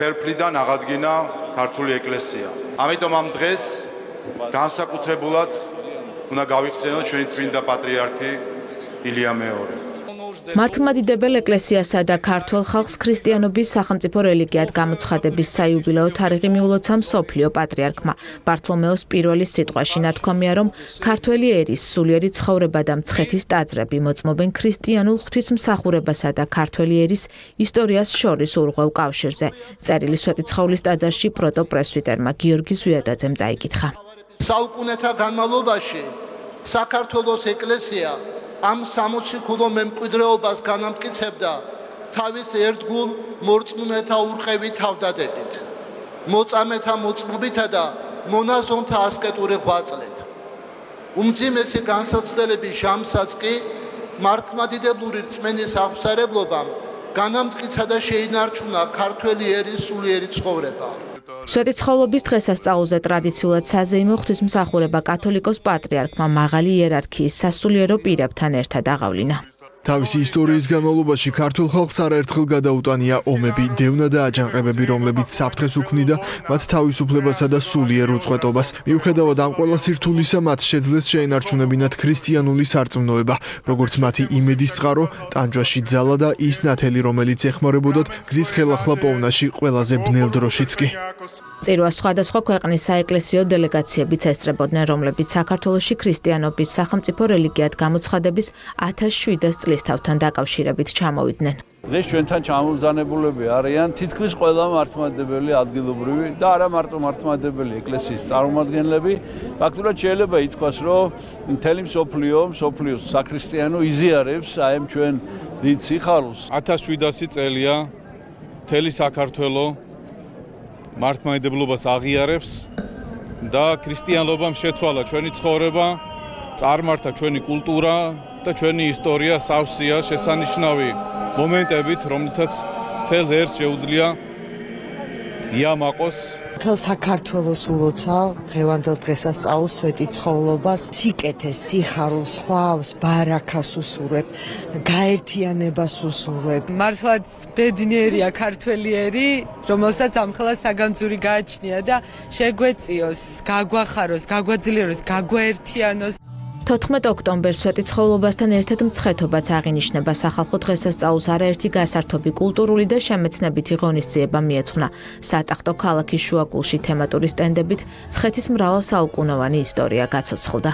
Ფერფლიდან აღადგინა ქართული ეკლესია. ამიტომ ამ დღეს განსაკუთრებულად უნდა გავიხსენოთ ჩვენი წმინდა პატრიარქი ილია მეორე. მართლმადიდებელ ეკლესიასა და ქართველ ხალხს ქრისტიანობის სახელმწიფო რელიგიად გამოცხადების საიუბილეო თარიღი მიულოცა მსოფლიო პატრიარქმა. ბართლომეოს პირველის სიტყვაში ნათქვამია, რომ ქართველი ერის სულიერი ცხოვრება და მცხეთის ტაძრები მოწმობენ ქრისტიანულ ღვთისმსახურებასა და ქართველი ერის ისტორიას შორის ურღვევ კავშირზე. წერილი სვეტიცხოვლის ტაძარში პროტოპრესვიტერმა გიორგი ზვიადაძემ წაიკითხა. საუკუნეთა განმავლობაში საქართველოს ეკლესია ამ 60 ქულო მემკვიდრეობას განამტკიცებდა თავის ერთგულ მორწმუნეთა ურყევი თავდადებით, მოწამეთა მოწმობითა და მონაზონთა ასკეტური ღვაწლით. უმძიმესი განსაცდელების ჟამსაც კი მართლმადიდებლური რწმენის აღმსარებლობამ განამტკიცა და შეინარჩუნა ქართველი ერის სულიერი ცხოვრება. სვეტიცხოვლობის დღესასწაულზე ტრადიციულად საზეიმო ღვთისმსახურება კათოლიკოს პატრიარქმა მაღალი იერარქიის სასულიერო პირებთან ერთად აღავლინა. თავისი ისტორიის განმავლობაში ქართულ ხალხს არაერთხელ გადაუტანია ომები, დევნა და აჯანყებები, რომლებიც საფრთხეს უქმნიდა მათ თავისუფლებასა და სულიერ უწყვეტობას. მიუხედავად ამ ყველა სირთულისა, მათ შეძლეს შეენარჩუნებინათ ქრისტიანული სარწმუნოება, როგორც მათი იმედის წყარო, ტანჯვაში ძალა და ის ნათელი, რომელიც ეხმარებოდათ გზის ხელახლა პოვნაში ყველაზე ბნელ დროშიც კი. წირვას სხვადასხვა ქვეყნის საეკლესიო დელეგაციებიც ესწრებოდნენ, რომლებიც საქართველოში ქრისტიანობის სახელმწიფო რელიგიად გამოცხადების 1700 წლის თავთან დაკავშირებით ჩამოვიდნენ. დღეს ჩვენთან ჩამოგზავნებულები არიან თითქმის ყველა მართლმადიდებელი ადგილობრივი და არა მარტო მართლმადიდებელი ეკლესიის წარმომადგენლები. ფაქტურად შეიძლება ითქვას, რომ მთელი მსოფლიოს საქრისტიანო იზიარებს აი ამ ჩვენ დიდ სიხარულს. 1700 წელია მთელი საქართველო მართლმადიდებლობას აღიარებს და ქრისტიანობამ შეცვალა ჩვენი ცხოვრება, წარმართა ჩვენი კულტურა და ჩვენი ისტორია სავსეა შესანიშნავი მომენტებით, რომლითაც მთელ ერს შეუძლია იამაყოს. მთელ საქართველოს ულოცავ დღევანდელ დღესასწაულს სვეტიცხოვლობას, სიკეთეს, სიხარულს, ხვავს, ბარაქას უსურვებ, გაერთიანებას უსურვებ. მართლაც ბედნიერია ქართველი ერი, რომელსაც ამხელა საგანძური გააჩნია და შეგვეწიოს, გაგვახაროს, გაგვაძლიეროს, გაგვაერთიანოს. 14 ოქტომბერს სვეტიცხოვლობასთან ერთად მცხეთობაც აღინიშნება. სახალხო დღესასწაულს არაერთი გასართობი კულტურული და შემეცნებითი ღონისძიება მიეძღვნა. სატახტო ქალაქის შუაგულში თემატური სტენდებით მცხეთის მრავალსაუკუნოვანი ისტორია გაცოცხლდა.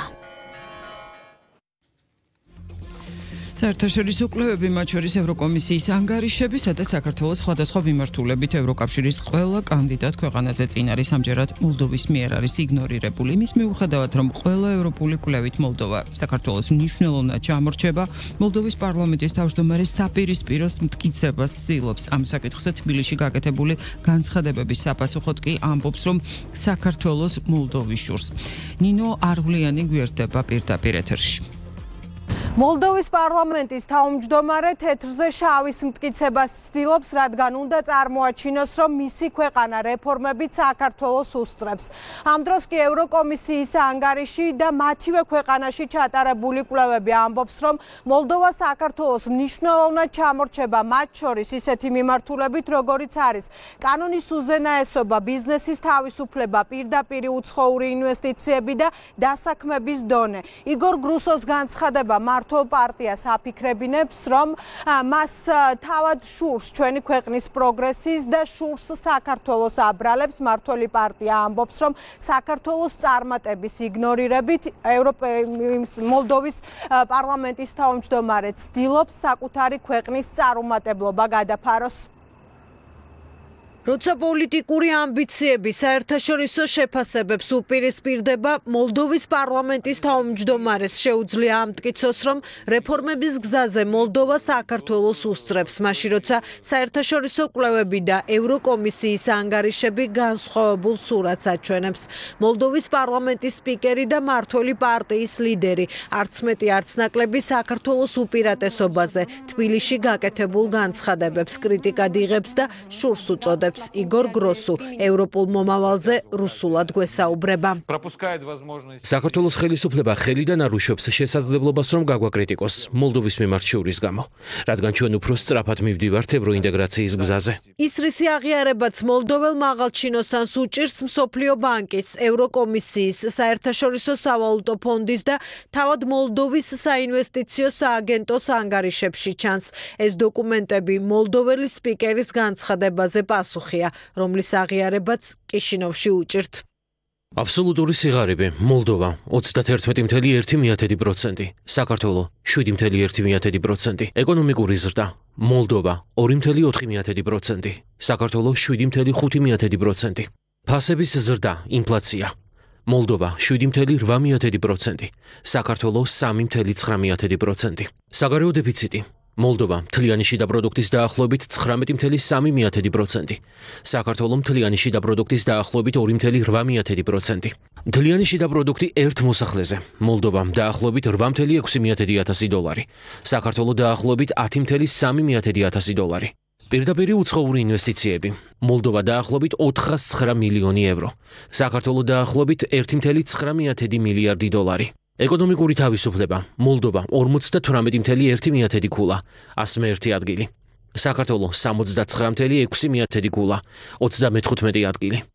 საერთაშორისო კვლევები, მათ შორის ევროკომისიის ანგარიშები, სადაც საქართველოს სხვადასხვა მიმართულებით ევროკავშირის ყველა კანდიდატ ქვეყანაზე წინ არის, ამჯერად მოლდოვის მიერ არის იგნორირებული. იმის მიუხედავად, რომ ყველა ევროპული კვლევით მოლდოვა საქართველოს მნიშვნელოვნად ჩამორჩება, მოლდოვის პარლამენტის თავმჯდომარე საპირისპიროს მტკიცებას ცდილობს. ამ საკითხზე თბილისში გაკეთებული განცხადებების საპასუხოდ კი ამბობს, რომ საქართველოს მოლდოვის შურს. ნინო არღვლიანი გვერდება პირდაპირ ეთერში. მოლდოვის პარლამენტის თავმჯდომარე თეთრზე შავის მტკიცებას ცდილობს, რადგან უნდა წარმოაჩინოს, რომ მისი ქვეყანა რეფორმებით საქართველოს უსწრებს. ამ დროს კი ევროკომისიის ანგარიში და მათივე ქვეყანაში ჩატარებული კვლევები ამბობს, რომ მოლდოვა საქართველოს მნიშვნელოვნად ჩამორჩება, მათ შორის ისეთი მიმართულებით, როგორიც არის კანონის უზენაესობა, ბიზნესის თავისუფლება, პირდაპირი უცხოური ინვესტიციები და დასაქმების დონე. იგორ გრუსოს განცხადება მართლ პარტიას აფიქრებინებს, რომ მას თავად შურს ჩვენი ქვეყნის პროგრესის და შურს საქართველოს აბრალებს. მართველი პარტია ამბობს, რომ საქართველოს წარმატების იგნორირებით მოლდოვის პარლამენტის თავმჯდომარე ცდილობს საკუთარი ქვეყნის წარუმატებლობა გადაფაროს. როცა პოლიტიკური ამბიციები საერთაშორისო შეფასებებს უპირისპირდება, მოლდოვის პარლამენტის თავმჯდომარეს შეუძლია ამტკიცოს, რომ რეფორმების გზაზე მოლდოვა საქართველოს უსწრებს, მაშინ როცა საერთაშორისო კვლევები და ევროკომისიის ანგარიშები განსხვავებულ სურათს აჩვენებს. მოლდოვის პარლამენტის სპიკერი და მართველი პარტიის ლიდერი არც მეტი არც ნაკლები საქართველოს უპირატესობაზე თბილისში გაკეთებულ განცხადებებს კრიტიკად იღებს და შურს უწოდებს. ამბობს იგორ გროსუ, ევროპულ მომავალზე რუსულად გვესაუბრება. საქართველოს ხელისუფლება ხელიდან არ უშვებს შესაძლებლობას, რომ გაგვაკრიტიკოს მოლდოვის მიმართ შურის გამო, რადგან ჩვენ უფრო სწრაფად მივდივართ ევროინტეგრაციის გზაზე. ისრისი აღიარებაც მოლდოվել მაღალჩინოსანს უჭირს მსოფლიო ბანკის, ევროკომისიის, საერთაშორისო სავალუტო ფონდის და თავად მოლდოვის საინვესტიციო სააგენტოს ანგარიშებში ჩანს. ეს დოკუმენტები მოლდოველი სპიკერის განცხადებაზე პასუხია, რომლის აღიარებაც კიშინოვში უჭირთ. აბსოლუტური სიღარიბე მოლდოვა 31.1%, საქართველო 7.1%, ეკონომიკური ზრდა მოლდოვა 2.4%, საქართველო 7.5%, ფასების ზრდა ინფლაცია მოლდოვა 7.8%, საქართველო 3.9%, საგარეო დეფიციტი მოლდოვა მთლიანი შიდა პროდუქტის დაახლოებით 19.3%, საქართველო მთლიანი შიდა პროდუქტის დაახლოებით 2.8%, მთლიანი შიდა პროდუქტი ერთ მოსახლეზე მოლდოვა დაახლოებით 8.6 დოლარი, საქართველო დაახლოებით 10.3 დოლარი. პირდაპირი უცხოური ინვესტიციები მოლდოვა დაახლოებით 409 მილიონი евро, საქართველო დაახლოებით 1.9 მილიარდი დოლარი. ეკონომიკური თავისუფლება მოლდოვა 58.1 ქულა, 101 ადგილი, საქართველო 69.6 ქულა, 35 ადგილი.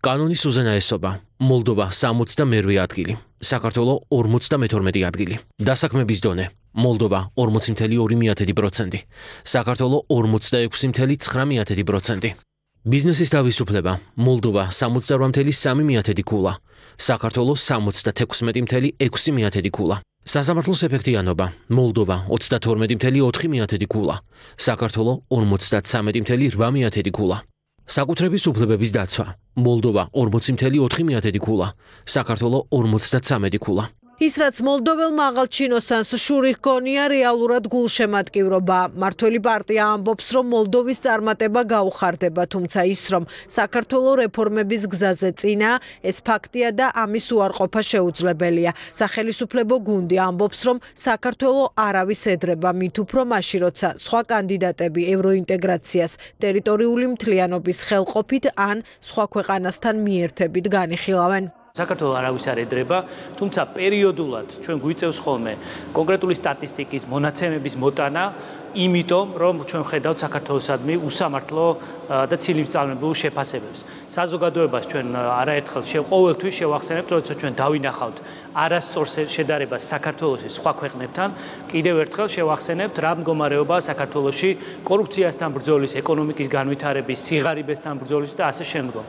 კანონის უზენაესობა მოლდოვა 60 ადგილი, საქართველო 52 ადგილი. დასაქმების დონე მოლდოვა 40.2%, საქართველო 46.9%. ბიზნესის თავისუფლება მოლდოვა 68.3 ქულა, საქართველო 76.6 ქულა. სასამართლოს ეფექტიანობა მოლდოვა 32.4 ქულა, საქართველო 53.8 ქულა. საკუთრების უფლებების დაცვა მოლდოვა 40.4 ქულა, საქართველო 53 ქულა. ის რაც მოლდოվել მაღალჩინოსანს შური ჰქონია რეალურად გულშემატკივრობა. მართველი პარტია ამბობს, რომ მოლდოვის წარმატება გაუხარდება, თუმცა ის, რომ საქართველოს რეფორმების გზაზე წინა, ეს ფაქტია და ამის უარყოფა შეუძლებელია. სახელისუფლებო გუნდი ამბობს, რომ საქართველოს არავის ედრება, მით უფრო მაშინ, როცა სხვა კანდიდატები ევროინტეგრაციას ტერიტორიული მთლიანობის ხელყოფით ან სხვა ქვეყანასთან მიერთებით განიხილავენ. საქართველოს არავის არ ედრება, თუმცა პერიოდულად ჩვენ გვიწევს ხოლმე კონკრეტული სტატისტიკის მონაცემების მოტანა, იმიტომ რომ ჩვენ ხედავთ საქართველოსადმი უსამართლო და ცილიმწამებულ შეფასებებს. საზოგადოებას ჩვენ არაერთხელ ყოველთვის შევახსენებთ, როცა ჩვენ დავინახავთ არასწორ შედარებას საქართველოს სხვა ქვეყნებთან, კიდევ ერთხელ შევახსენებთ რა მდგომარეობაა საქართველოში კორუფციასთან ბრძოლის, ეკონომიკის განვითარების, სიღარიბესთან ბრძოლის და ასე შემდგომ.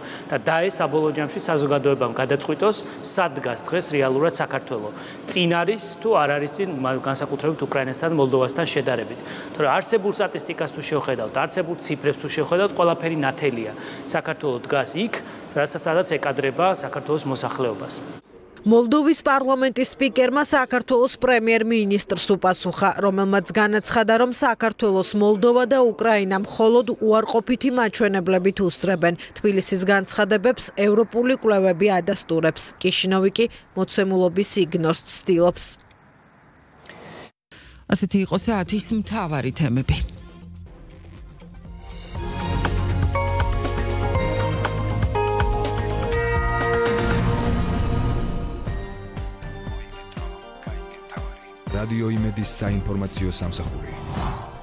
და ეს საბოლოო ჯამში საზოგადოებამ გადაწყვიტოს, სად დგას დღეს რეალურად საქართველოს. წინ არის თუ არ არის წინ განსაკუთრებით უკრაინასთან, მოლდოვასთან შედარებით. თორე არსებულ სტატისტიკას თუ შევხედავთ, არსებულ ციფრებს თუ შევხედავთ, ყველაფერი ნათელია. საქართველოს დგას იქ, სადაც ეკადრება საქართველოს მოსახლეობას. მოლდოვის პარლამენტის სპიკერმა საქართველოს პრემიერ-მინისტრს უპასუხა, რომელმაც განაცხადა, რომ საქართველოს მოლდოვა და უკრაინა მხოლოდ უარყოფითი მაჩვენებლებით უსწრებენ. თბილისის განცხადებებს ევროპული კვლევები ადასტურებს. კიშინოვი კი მოცემულობის იგნორს ცდილობს. ასეთი იყო საათის მთავარი თემები. რადიო იმედის საინფორმაციო სამსახური.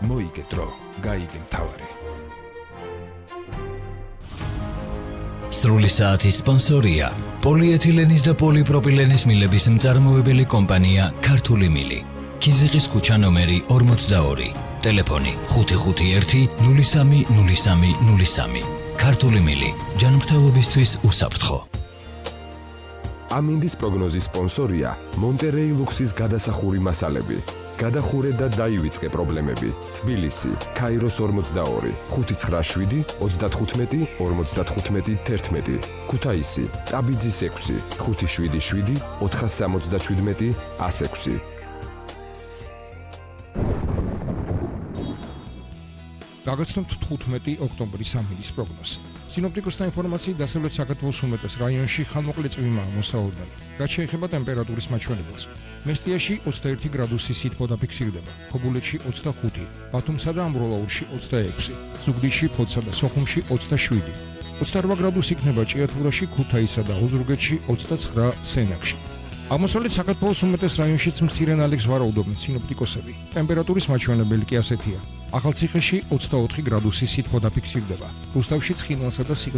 მოიგე დრო, გაიგე მთავარი. სრული საათის სპონსორია პოლიეთილენის და პოლიპროპილენის მილების მწარმოებელი კომპანია ქართული მილი. ქიზიყის ქუჩა ნომერი 42, ტელეფონი 551 03 03 03. ქართული მილი, ჯანმრთელობისთვის უსაფრთხო. ამინდის პროგნოზის სპონსორია მონტერეი ლუქსის გადასახური მასალები. გადახურე და დაივიწყე პრობლემები. თბილისი, ქაიროს 42, 597 35 55 11. ქუთაისი, ტაბიძის 6, 577 477 106. გაგაცნობთ 15 ოქტომბრის ამინდის პროგნოზი. სინოპტიკოსთა ინფორმაციით დასავლეთ საქართველოს უმეტეს რაიონში ხანმოკლე წვიმაა მოსაოდნელი. რაც შეეხება ტემპერატურის მაჩვენებელს. მესტიაში 21 გრადუსი სითბო დაფიქსირდება, ქობულეთში 25, ბათუმსა და ამბროლაურში 26, ზუგდიდში, ფოთსა და სოხუმში 27, 28 გრადუსი იქნება ჭიათურაში, ქუთაისსა და ოზურგეთში, 29 სენაკში. აღმოსავლეთ საქართველოს უმეტეს რაიონშიც მცირე ნალექს ვარაუდობენ სინოპტიკოსები. ტემპერატურის მაჩვენებელი კი ასეთია. ახალციხეში 24 გრადუსი სითბო დაფიქსირდება, რუსთავში, ცხინვალსა და